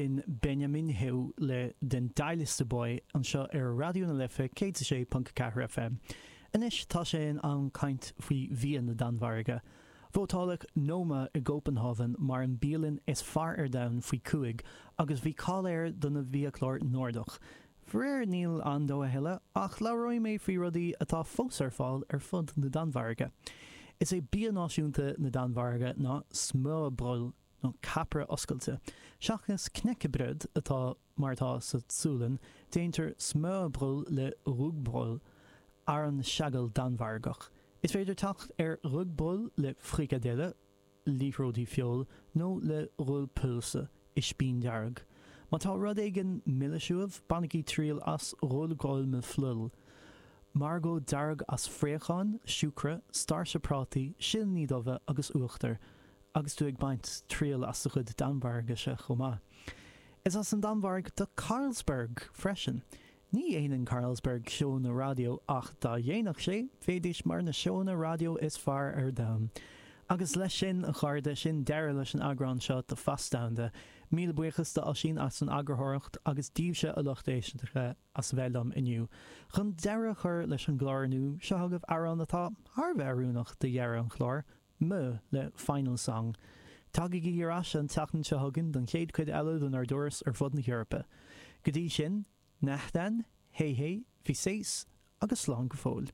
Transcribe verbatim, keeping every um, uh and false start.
B'in Benjamin Høgh le Den Dejligste By anseo ar Raidió na Life céad a sé ponc ceathair FM. Anois tá sé in am caint faoi bhia na Danmhairge. Vótáladh Noma i gCópenhávan mar an bialann is fearr ar domhan faoi cúig agus bhí cáil air do na bhiachlár Nordach. Faraor níl ann dó a thuilleadh ach labhróidh mé faoi rudaí atá fós ar fáil ar fud na Danmhairge. Is é bia náisiúnta na Danmhairge ná smørrebrød nó capaire oscailte. Seachas knækkebrød atá mar atá sa tSualainn, déantar smørrebrød le rugbrød, arán seagail Danmhargach. Is féidir teacht ar rugbrød le frikadelle, liathróidí feoil, nó le rød pølse, ispín dearg. Má tá rud éigin milis uaibh, bainigí triail as rødgrød med fløde. Margóid dearg as fraocháin, siúcra, stáirse prátaí, silíní dubha agus uachtar, agus tú ag baint triail as do chuid Danmhairgise chomh maith. Is as an Danmhairg do Carlsberg freisin. Ní dhéanann Carlsberg seónna raidió ach dá dhéanfadh sé, bheidís mar na seónna raidió is fearr ar domhan. Agus leis sin, a chairde, sin deireadh leis an eagrán seo de Phas Domhanda. Míle buíochas do Oisín as an eagarthóireacht agus daoibhse a lucht éisteachta as bheith liom inniu. Chun deireadh a chur leis an gclár inniu, seo chugaibh amhrán atá thar a bheith oiriúnach do dheireadh an chláir, MØ le Final Song. Tagaigí ar ais an tseachtain seo chugainn don chéad chuid eile denár dturas ar fud na hEorpa. Go dtí sin, Nahdan, hej hej, vi ses agus slán go fóill.